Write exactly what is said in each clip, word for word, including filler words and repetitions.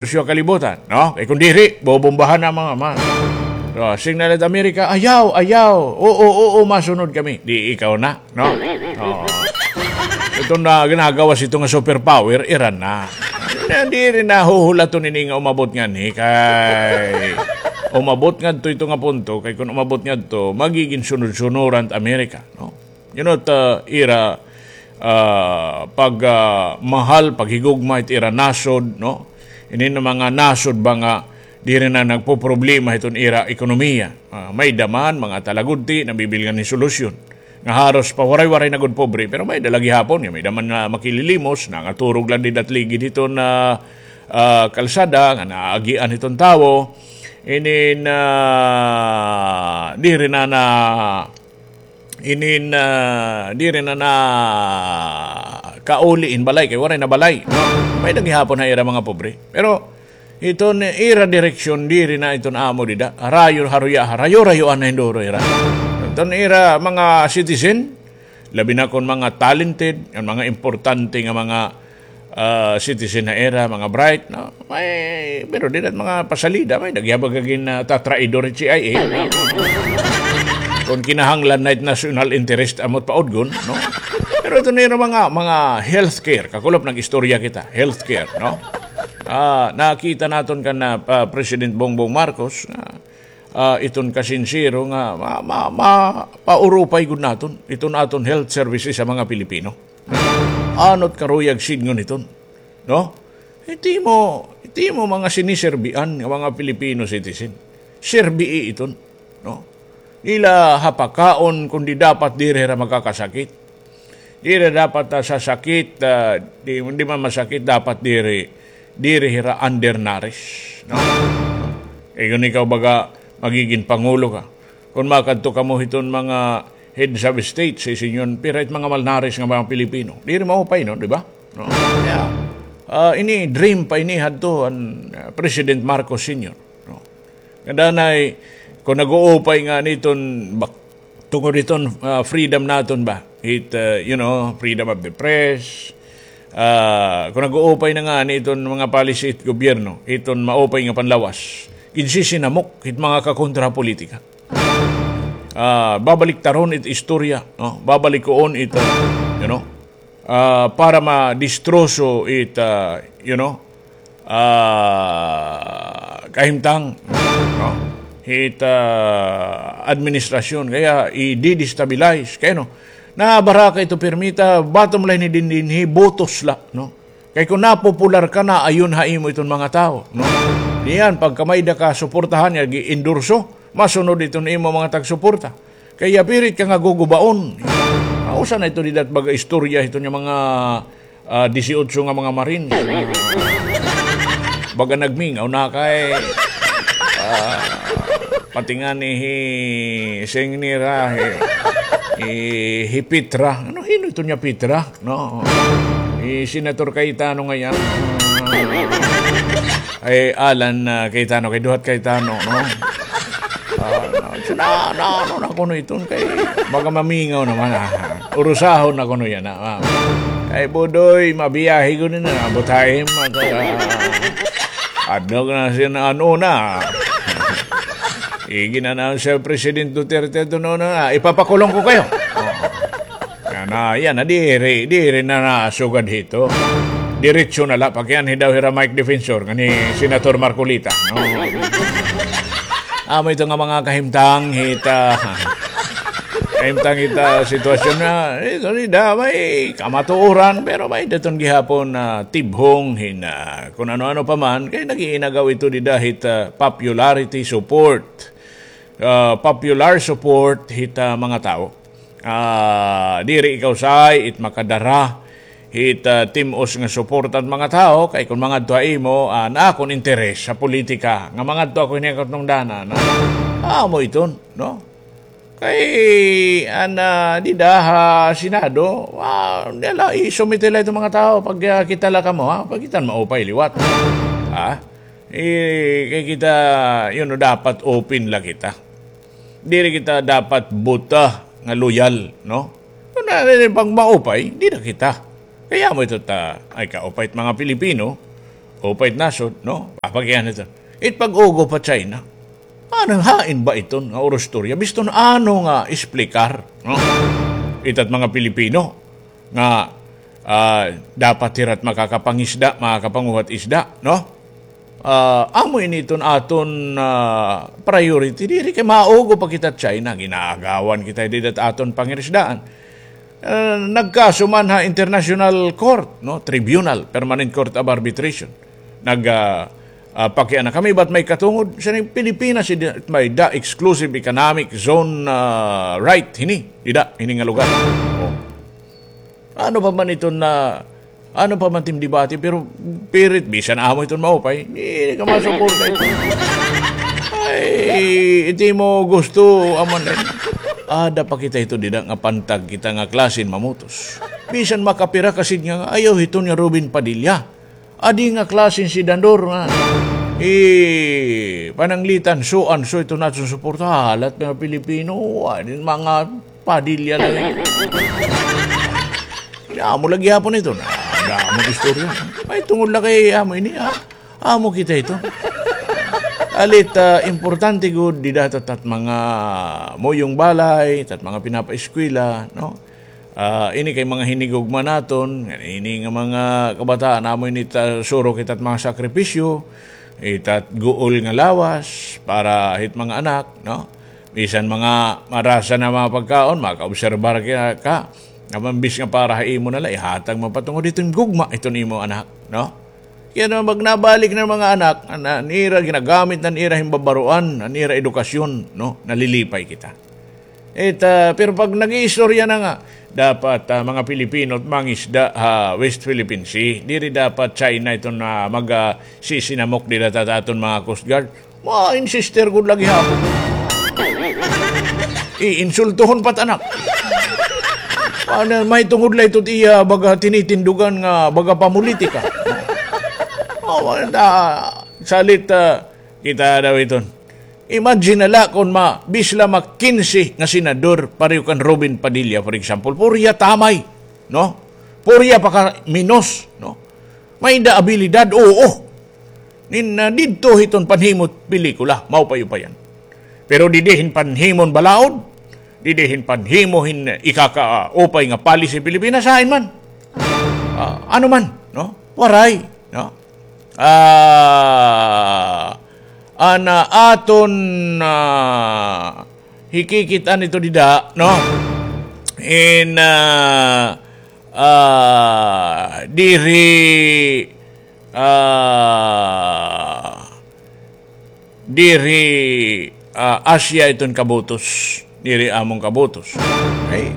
Rusyo kalibutan, no? Kay kun diri, bobombahan na mga ma-, so, signal it Amerika, ayaw, ayaw, oo, oo, masunod kami. Di ikaw na, no? Oo. Ito na ginagawa sa ito nga superpower, Iran na. Diri na huhulaton ini nga umabot nganhi, kay umabot ngadto ito nga punto, kay kun umabot ngadto, magigin sunod-sunuran it Amerika, no? You know, ta, ira, ah, pag, ah, mahal, paghigugma it ira nasod, no? Ini na mga nasod ba nga diri na nagpoproblema hiton ira ekonomiya. Ah, may-ada man, mga talagudti, nabibilngan hin solusyon. Nga haros pa waray-waray na gud pobre, pero may-ada la gihapon, nga may-ada man nga makililimos, nangaturog la dida ha ligid hiton, ah, ah, kalsada, nga naagian hiton tawo. Ini na, diri na na, inin, ah, diri na nakauli hin balay, kay waray na balay, no? May-ada gihapon ha ira mga pobre. Pero iton ira direksyon, diri na iton amo dida. Harayo, haruya, harayo-rayoan na hin duro ira. Iton ira mga citizen, labi na kon mga talented, an mga importante nga mga ah, citizen ha ira, mga bright, no? May, pero dida ha mga pasalida, may-ada gihap gad nga, ah, tatraidor it C I A. Kon kinahanglan na it national interest amo it paudgon, no? Pero ito na ira mga, mga healthcare, kakulop nag-istorya kita, healthcare, no? Ah, nakita naton kan, ah, pa-, President Bongbong Marcos, nga, ah, iton kasinsero nga ma-, ma-, ma-, paurupay gud naton, iton aton health services sa mga Pilipino. Ano it karuyag sidngon hiton, no? Hit imo, hit imo mga siniserbian nga mga Filipino citizen. Serbii iton, no? Diri la ha pakaon, kundi dapat diri hira makakasakit. Diri dapat, ah, sasakit, ah, di, di man masakit, dapat diri, diri hira undernourished, no? Kay kon ikaw baga magigin pangulo ka, kon makadto kamo hiton mga heads of state, sa isinyon, pira it mga malnourished nga mga Pilipino. Diri maupay, no, di ba? No? Kaya, ah, ini dream pa ini hadto an, ah, President Marcos Senior, no? Nga danay, kon nag-uupay ngani iton bak-, tungod iton, ah, freedom naton ba? It, ah, you know, freedom of the press. Ah, kon nag-uupay na ngani iton mga policy it gobyerno, iton maupay nga panlawas, ginsisinamok it mga kakontra ha politika. Ah, babaliktaron it istorya, no? Babalikuon it, ah, you know, ah, para madistroso it, ah, you know, ah, kahimtang, no? It, ah, administrasyon, kaya i-destabilize, kay ano, nabaraka ito pirmi ta, bottom line ni dinhi, botos la, no? Kay kon napopular ka, naayon ha imo iton mga tawo, no? Niyan, pagka may-ada ka suportahan, nga gi-endorso, masunod iton imo mga tagsuporta. Kay apirit ka nga gugubaon. Mausa na ito dida ha baga istorya hiton nga mga, ah, disiotso nga mga Marines. Baga nagmingaw na kay, ah, pati ngani hi, siring nira, hi, hi, hi Petra. Ano, hin-o iton nga Petra? No? Hi Senator Cayetano ngay-an. Ay, Alan, ah, Cayetano, kay duha it Cayetano, no? Ah, no, so, na, na, ano na kuno iton kay baga mamingaw naman, ah. Urusahon na kuno yana, ah. Kay Budoy, mabiyahe gud na, butahim, at, ah, adlok na siya na ano na. Igin-announce siya President Duterte ito, no, na, ipapakulong ko kayo. Oo. Yana, yana, diri, diri na nasugad hito. Diretso na la, pakianhi daw hira Mike Defensor, ngan hi Senator Marcoleta, no? Amo ito nga mga kahimtang hita, kahimtang hita sitwasyon na, ito ni da, may kamatuoran, pero may daton gihapon na tibhong hin, ah, kun ano-ano pa man, kay nag-iinagaw ito dida hit, ah, popularity support. Ah, popular support hit, ah, mga tawo. Ah, diri ikaw say it makadara hit, ah, tim-os nga suporta han mga tawo, kay kon mangadto ha imo, ah, naa akon interes sa politika, nga mangadto ako hini katong dana, na, amo iton, no? Kay, an, ah, dida ha Senado, ah, dala, isumite la iton mga tawo, pag, ah, kita la kamo, ha? Pag kita maupay liwat. Ha? Eh, kay kita, you know, dapat open la kita. Diri kita dapat buta nga loyal, no? Kun ano, pag maupay, dida kita. Kay amo ito ta, ay kaupay it mga Pilipino, Upay it nasod, no? Papakian ito. It pag-ugob ha China. Ano, hain ba iton nga urustorya? Biston ano nga explicar, no? Itat mga Pilipino nga, ah, dapat hira't makakapangisda, makakapanguhat isda, no? Ah, amo ini iton aton, ah, priority. Diri kay maugob pa kita China, ginaagawan kita dida aton pangirisdaan. Ah, nagkaso man ha International Court, no? Tribunal, Permanent Court of Arbitration. Nag, ah, ah, pakiana kami, ba't may katungod? Sa ning Pilipinas, may da exclusive economic zone, ah, right, hini, dida, hini nga lugar. Oh. Ano pa man iton na, ano pa man tim debate, pero pirit, bisan amo iton maupay, di ka masuporta ito. Ay, iti mo gusto, aman eh. Ada pa kita ito dida nga pantag kita nga klasen mamutos. Bisan makapira kasid nga, ayaw hiton nga Robin Padilla. Adi nga klasen senador nga, eh, pananglitan, so and so ito naton suporta. Halat mga Pilipino, ah, mga Padilla lang. Amo lagi hapon ito na. Amo istorya. May tungod lagi amo ini, ha? Amo kita ito. Alit, ah, importante gud dida tat mga muyong balay, tat mga pinapaeskwela, no? Ah, ini kay mga hinigugma naton, ini nga mga kabataan, amo ini ta, surok ita't mga sakripisyo, ita't guol nga lawas para hit mga anak, no? Bisan mga marasa na mga pagkaon, makaobserbar ka, ka. Apan bis nga para ha imo na la, ihatag mo pa tungod iton gugma iton imo anak, no? Kaya na magnabalik na mga anak, an, an ira ginagamit, an ira himbabaroan, an ira edukasyon, no? Nalilipay kita. It, ah, pero pag nag-iistorya na nga, dapat, ah, mga Pilipino at mangisda ha West Philippine Sea, diri dapat China ito na mag, ah, sisinamok dida ta aton mga Coast Guard. Ma-insister gud lagi hapon. Iinsultuhon pa it anak. Ano, may tungod la ito iya baga tinitindugan nga baga pamulitika. Oh, wala, salit, ah, kita daw iton. Imagine na la kon ma, bis la ma kinse nga senador, pareho kan Robin Padilla, for example. Purya tamay, no? Purya pa ka minos, no? May da abilidad, oo. Nin, ah, didto hiton panhimot pelikula, maupay-upayan. Pero didi hin panhimon balaod, didi hin panhimo hin ikakaupay nga policy Pilipinas, hain man. Ah, ano man, no? Waray, no? Ah, ana aton, ah, hikikit-an ito dida, no? In, ah, ah, diri, ah, diri, ah, Asia iton kabutos, diri amon kabutos. Ay,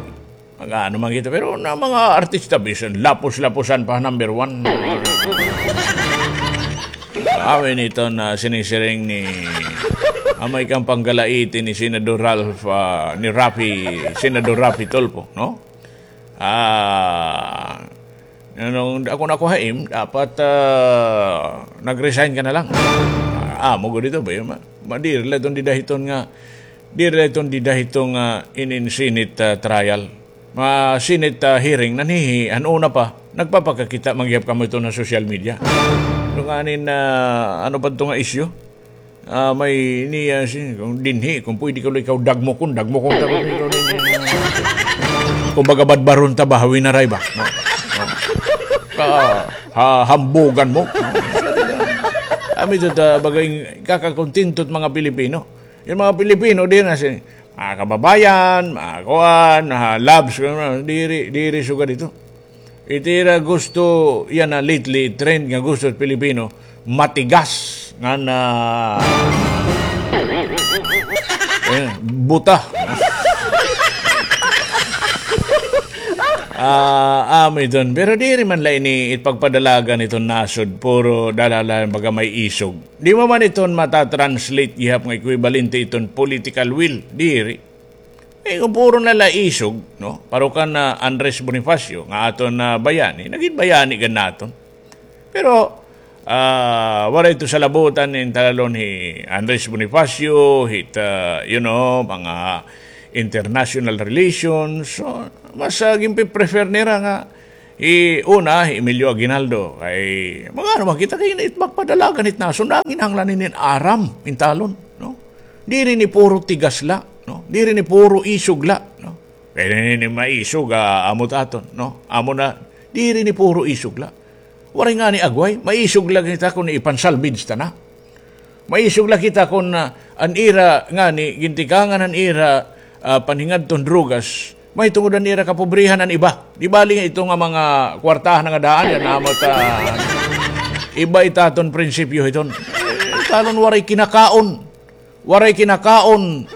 mag-ano man kita, pero na mga artista, bisan lapos-laposan pa, number one. Amin ito na sinisiring ni, amay kang panggalaiti ni Senador Ralph, ah, ni Raffy, Senador Raffy Tulfo, no? Ah, nung ako na ko haim, dapat, ah, nag-resign ka na lang. Ah, amo gud ito ba yun? Ma-, ma-, diri la iton dida hiton nga, diri la iton dida hiton nga in, in Senate, ah, trial. Ma Senate, ah, hearing, nanhihi, an una pa, nagpapakakita, manggihap kamo ito na social media. Ito nga anin, ah, ano pa ito nga issue? Ah, may niya si, kung dinhi, kung pwede ka ikaw dagmokon, dagmokon ta, kung ikaw dinhi. Kung baga badbaron ta ba, hawin na ray ba? No? No? Ka, ha, hambugan mo. No? Kami ito ta, bagay, kakakontento it mga Pilipino. Yung mga Pilipino, di na si, mga kababayan, mga kuan, mga loves, diri, diri sugad ito. Iti ira gusto, yana lately, trend nga gusto sa Pilipino, matigas nga na, eh, buta. Ah, amo iton. Pero diri man la ini ipagpadalagan iton nasod, puro dalala baga may isog. Di mo man iton mata-translate gihap nga equivalente iton political will. Diri. Eh, kung puro na la isog, no? Pareho kan Andres Bonifacio, nga aton, ah, bayani, nagin bayani gad naton. Pero, ah, waray ito salabutan in talalon hi Andres Bonifacio, hit, ah, you know, mga international relations. So, mas, ah, ginpe-prefer nira nga Hi una, hi Emilio Aguinaldo, kay, mga ano, makita kay it magpadalagan it nasod, nanginahanglan ini hin aram, hin talon, no? Diri ini puro tigas la, no? Diri ini puro isog la, no? Kay ini maisog, ah, amo it aton, no? Amo na, diri ini puro isog la. Waray ngani agway, maisog la kita kon ipansalvage ta na. Maisog la kita kon, ah, an ira ngani, gintikangan an ira, ah, panhingadton drugas, mahitungod an ira kapobrehan an iba. Di bali ito nga mga kwartahan nga daan, yana amo ta, iba it aton prinsipyo hiton. Talon waray kinakaon. Waray kinakaon.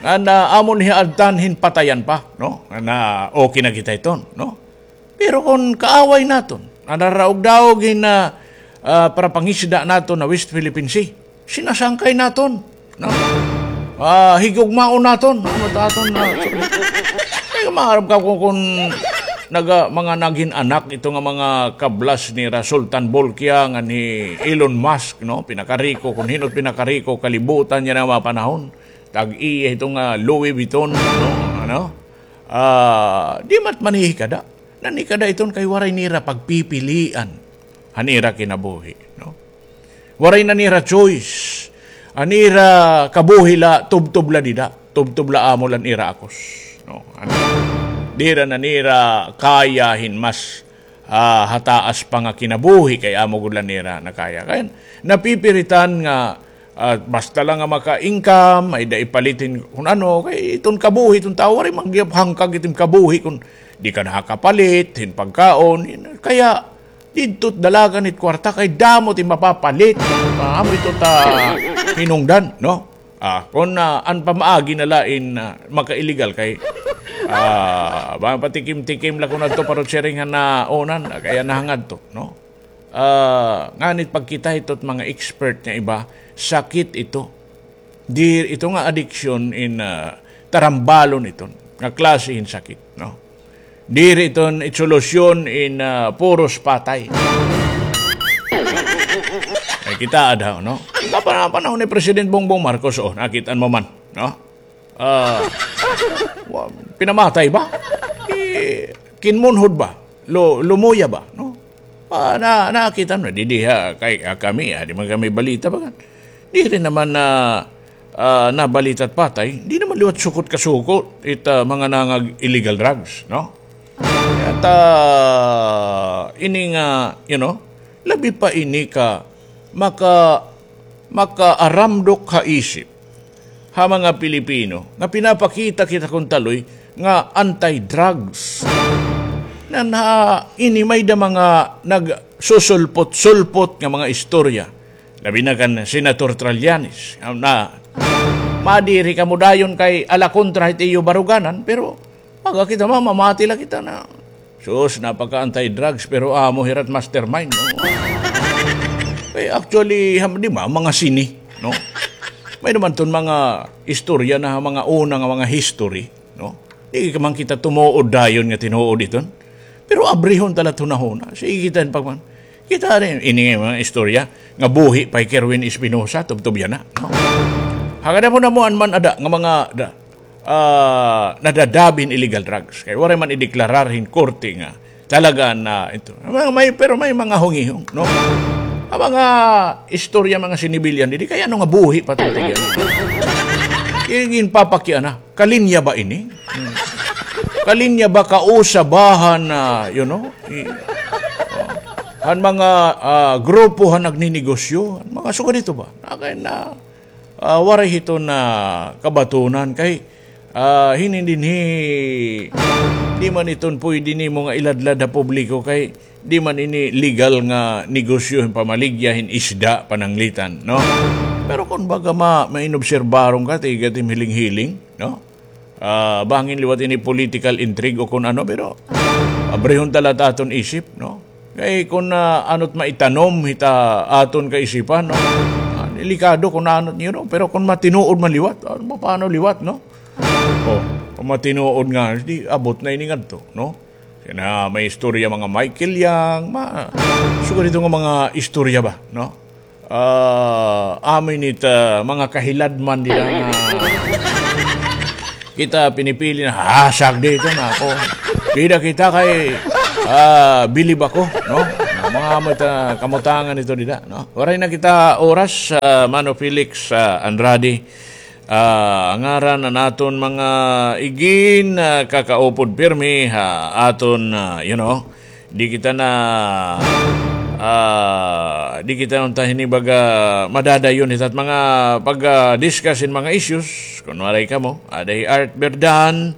Ngan, ah, amo ni adtan hin patayan pa, no? Ngan, ah, okay na kita hiton, no? Pero kon kaaway naton, an naraugdaog hin, ah, ah, parapangisda naton ha West Philippine Sea, sinasangkay naton, no? Ah, higugmaon naton, ano ta aton na, ay, maaram ka kon, kon naga-, mga nagin anak ito nga mga kablas nira Sultan Bolkiah ngan hi Elon Musk, no? Pinakariko, kon hin-o it pinakariko kalibutan yana nga mga panahon. Tag-iya ito nga Louis Vuitton, no? Ano? Ah, di man it manhihikada. Nanhikada iton kay waray nira pagpipilian han ira kinabuhi, no? Waray na nira choice. An ira kabuhi la, tubtob la dida, tubtob la amo la an ira akos, no? Ano? Dira na nira kaya hin mas, ah, hataas pa nga kinabuhi kay amo gud la nira nakaya. Kay napipiritan nga, ah, basta la nga maka-income, may-ada ipalit hin kun ano, kay iton kabuhi, iton tawo, waray man gihap hangkag iton kabuhi kun di ka nakakapalit hin pagkaon. Kaya didto it dalagan it kwarta kay damo it mapapalit. Ah, amo ito ta hinungdan, no? Ah, kon, ah, an pamaagi na la in, ah, maka-illegal kay, ah, ba, patikim-tikim la kon adto parot siring han naunan, ah, kaya nahangadto, no? Ah, nganit pagkita hito it mga expert nga iba, sakit ito. Di, ito nga addiction in, ah, tarambalon iton nga klase hin sakit, no? Diri iton it solusyon in, ah, puros patay. Ay, kita ada, no? Kapan-, panahon ni President Bongbong Marcos, oh, nakit-an mo man, no? Ah, wa-, pinamatay ba? Eh, kinmunhod ba? Lu-, lumuya ba, no? Ah, na, nakita na, di, di, ha, kay, ah, kami, ah, di man kami balita ba kan? Diri naman na, ah, nabalita it patay, di naman liwat sukot ka sukot it, ah, mga nangag-illegal drugs, no? At, ah, ini nga, you know, labi pa ini ka maka-, makaaramdok ha isip ha mga Pilipino nga pinapakita kita kon taloy nga anti-drugs. Nan ha ini may-ada mga nagsusulpot-sulpot nga mga istorya. Labi na kan Senator Trillanes, na madiri kamo dayon kay ala kontra hit iyo baruganan, pero baga kita mamamati la kita na, sus, napaka-anti-drugs, pero amo hira it mastermind, no? Eh, actually, ham-, di ba, mga sini, no? May naman ton mga istorya na mga una nga mga history, no? Di man kita tumuod dayon nga tinuod iton. Pero abrihon ta la it hunahuna. Sige kita pagman. Kita rin, ini nga mga istorya nga buhi pa hi Kerwin Espinosa, tubtob yana, no? Hagad mo na mo an man ada nga mga da-, ah, nadadabi hin illegal drugs. Kay waray man ideklarar hin korte nga talaga na ito. May, may, pero may mga hungihong, no? An mga istorya, mga sinibilyan, didi kay ano nga buhi pa ito, tigyan. Ginpapakiana. Kalinya ba ini? Hmm. Kalinya ba, kausa ba han, ah, you know, i-, oh, han mga, ah, grupo han nagninegosyo, han mga sugad ito ba? Na kay na, ah, waray hito na kabatunan kay, ah, hinin dinhi, di man iton pwede nimo nga iladlad ha publiko kay di man ini legal nga negosyo hin pamaligya hin isda, pananglitan, no? Pero kon baga ma-, mainobserbaron ka, tiga it im hiling-hiling, no? Ah, bangin liwat ini political intrigue o kon ano, pero abrihon ta la it aton isip, no? Kay kon, ah, ano't maitanom hit aton kaisipan, no? Ah, delikado kon ano't, you know, pero kon matinuod man liwat, ah, paano liwat, no? Oh, kon matinuod nga, di abot na ini ngadto, no? Kay na may istorya mga Michael Young, ma-, sugad ito nga mga istorya ba, no? Ah, amin it, ah, mga kahiladman dida nga kita pinipili na, "Ah, sagdi ito na ako." Dida kita kay Ah, bilib ako, no? Mga mata, kamutangan ito dida, no? Waray na kita oras, ah, Mano Felix, ah, Andrade. Ah, ngaran an aton mga igin, ah, kakaupod pirmi, ha, aton, ah, you know, di kita na, ah, di kita unta hini baga madadayon hit at mga pag, ah, discuss in mga issues, kunwari kamo, ada hi Art Berdan,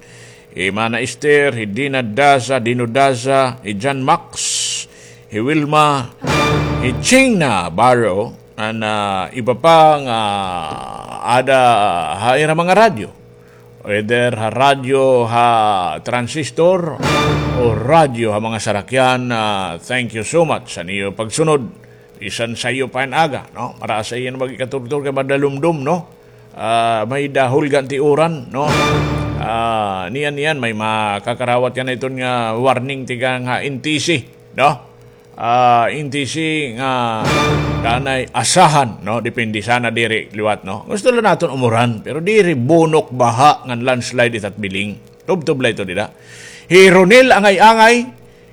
hi Mana Esther, hi Dina Daza, Dino Daza, hi John Max, hi Wilma, hi Ching Navarro, an, ah, iba pa nga ada ha ira mga radyo. Whether ha radyo ha transistor o radyo ha mga sarakyan, ah, thank you so much sa niyo pagsunod. Bisan sayo pa hin aga, no? Marasa iyan mag-ikaturtur kay madalumdom, no? Ah, may dahol gan ti uran, no? Ah, niyan, niyan, may makakarawat yan iton nga warning tikang ha N T C, no? Ah, N T C nga kanay asahan, no? Depende sana diri liwat, no? Gusto lang naton umuran, pero diri bunok baha ngan landslide itat biling. Tubtob la ito dida. Hi Ronel Angay-Angay,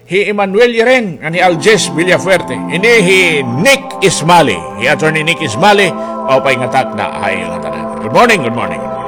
hi Emmanuel Yeren, ngan hi Aljes Villafuerte. Ini hi Nick Ismali, hi Attorney Nick Ismali, maupay nga takna ha iyo ngatanan. Good morning, good morning, good morning.